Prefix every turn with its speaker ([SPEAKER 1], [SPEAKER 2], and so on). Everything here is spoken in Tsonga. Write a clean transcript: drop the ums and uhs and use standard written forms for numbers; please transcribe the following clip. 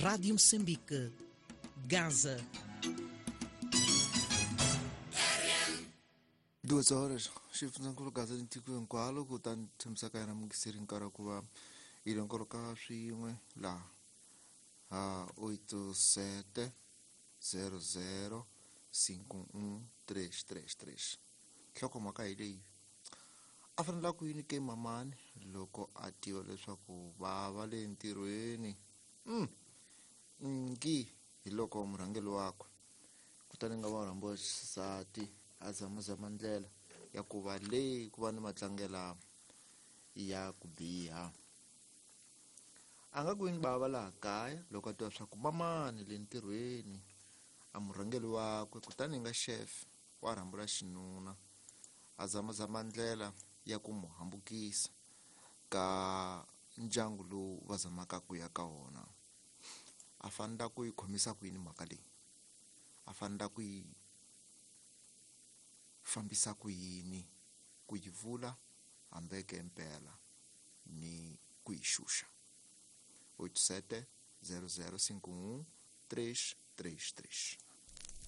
[SPEAKER 1] Rádio Moçambique, Gaza.
[SPEAKER 2] 2 horas xifundzankulu Gaza ni tiko hinkwalo kutani tshamisaka yena mungiseri nkarhi wa ku va yi longoloka swin'we laha ha 87 00 51 333. Nhlokomhaka hi leyi: a fanele ku yini ke mamani loko a tiva leswaku va va le ntirhweni ngi hi loko murhangeri wakwe kutani nga va rhambiwa xisati a zamazama ndlela ya ku va leyi ku va ni matlangela ya ku biha. A nga ku yini bava laha kaya loko a tiva swa ku mamani le ntirhweni a murhangeri wakwe kutani nga chef wa rhambula xinuna a zamazama ndlela ya ku mu hambukisa ka ndyangu lowu va zamaka ku ya ka wona. A fanela ku yi khomisa ku yini mhaka leyi? A fanela ku yi fambisa ku yini? Ku yi vula hambeke mpela ni ku yi xuxa. 87 00 51 333.